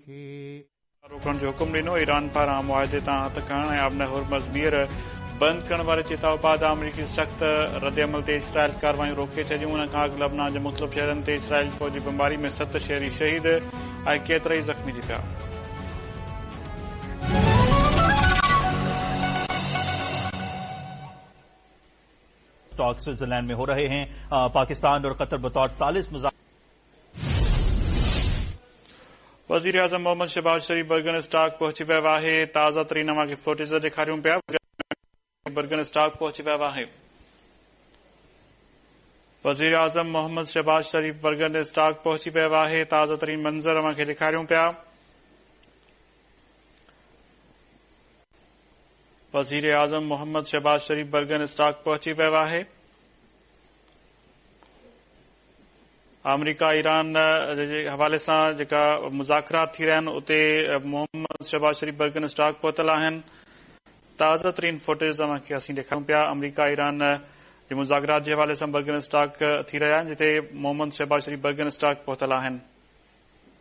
روڪڻ جو حڪم ڏنو، ايران پاران معاهدي تان هٿ کڻڻ ۽ آبنائي هرمز ٻيهر بند ڪرڻ واري چتاء بعد آمريڪي سخت ردعمل تي اسرائيل ڪارروايون روڪي ڇڏيون، ان کان اڳ لبنان جي مختلف شهرن تي اسرائيلي فوجي بمباري ۾ ست شهري شهيد ۽ ڪيترائي زخمي ٿي پيا. اسٽاڪ سوئٽزرلينڊ ۾ هو رهي هين پاڪستان اور قطر بطور ثالث وزيراعظم محمد شهباز شريف برگن اسٽاڪ پهچي ويو آهي تازه ترين اوهان کي فوٽيج ڏيکاريون پيا برگن اسٽاڪ پهچي ويو آهي وزيراعظم محمد شهباز شريف برگن اسٽاڪ پهچي ويو آهي تازه ترين منظر اوهان کي ڏيکاريون پيا وزيراعظم محمد شهباز شريف برگن اسٽاڪ پهچي ويو آهي آمريڪا ايران جي حوالي سان جيڪا مذاڪرات ٿي رهيا آهن اتي محمد شهباز شريف برگن اسٽاڪ پهتل آهن تازه ترين فوٽيج اوهان کي اسين ڏيکاريون پيا آمريڪا ايران جي مذاڪرات جي حوالي سان برگن اسٽاڪ ٿي رهيا آهن جتي محمد شهباز شريف برگن اسٽاڪ پهتل آهن.